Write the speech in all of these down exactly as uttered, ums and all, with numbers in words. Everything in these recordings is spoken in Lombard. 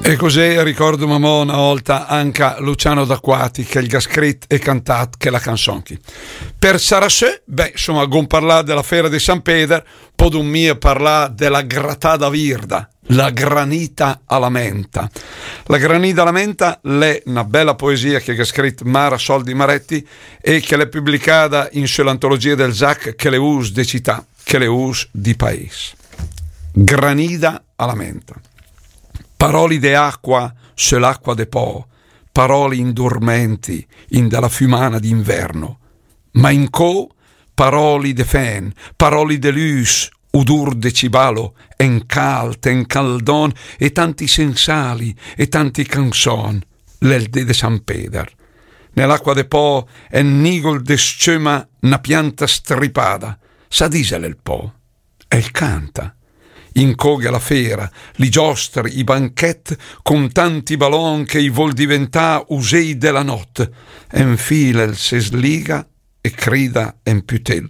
E così ricordo mamò una volta anche a Luciano D'Acquati che el ga scrit e cantat che la canzon chi. Per sarà se, beh, insomma, gon parlà della fera di San Peder, podon mia parlà della gratada virda, la granita a la menta. La granita a la menta l'è una bella poesia che ga scrit Mara Soldi Maretti e che l'è publicada in su l'antologia del Zac che le us de cità, che le us di paes. Granita a la menta. Paroli de acqua, se l'acqua de po, paroli indurmenti, in de la fumana d'inverno. Ma incò, paroli de fen, paroli de lus, udur de cibalo, en calt, en caldon, e tanti sensali, e tanti canzon, l'è el de de San Peder. Nell'acqua de po, en nigol de scema na pianta stripada, sa disel el po. El canta. Incò gh'è la fera, li giostri, i banchet, con tanti balon che i vol diventà usei de la not. Enfila el se sliga e crida en pütel.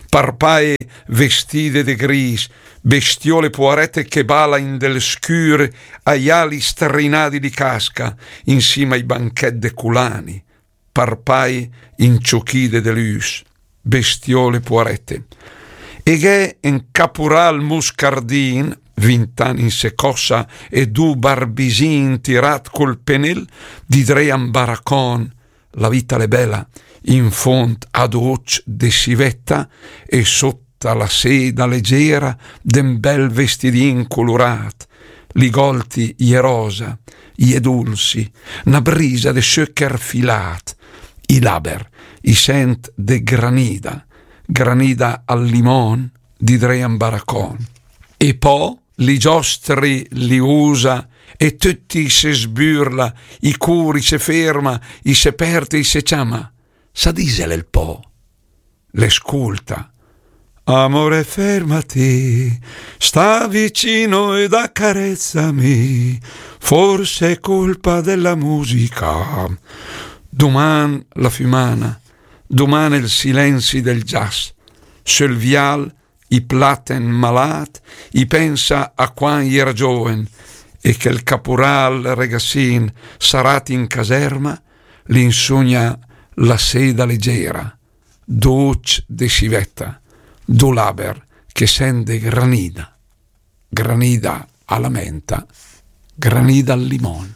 Parpae vestide de gris, bestiole puarete che bala in del scür, ai ali strinadi di casca, insima ai banchet de culani. Parpai inciuchide de lus, bestiole puarete. E gh'è en capural muscardin, vint'an in secossa e du barbisin tirat col penel, di dre a 'n baracon, la vita l'è bela, in font a doc de sivetta e sot ta la seda legera de 'n bel vestidin culurat, li golti i è rosa, i è dulsi, na brisa de söcher filat, i laber, i sent de granida, granida al limon, di dre a 'n baracon. E po li giostri li usa e tutti i se sburla, i cur i se ferma, i se pert e i se ciama. Sa disel el po. L'è sculta. Amore, fermati, sta vicino ed accarezzami, forse è colpa della musica. Duman la fumana, duman el silenzi del gias, sul vial i platen malat, i pensa a quan i era gioven, e che el capural regassin sarat in caserma, l'insugna la seda legera, duc de sivetta, du laber che sent de granida, granida a la menta, granida al limon.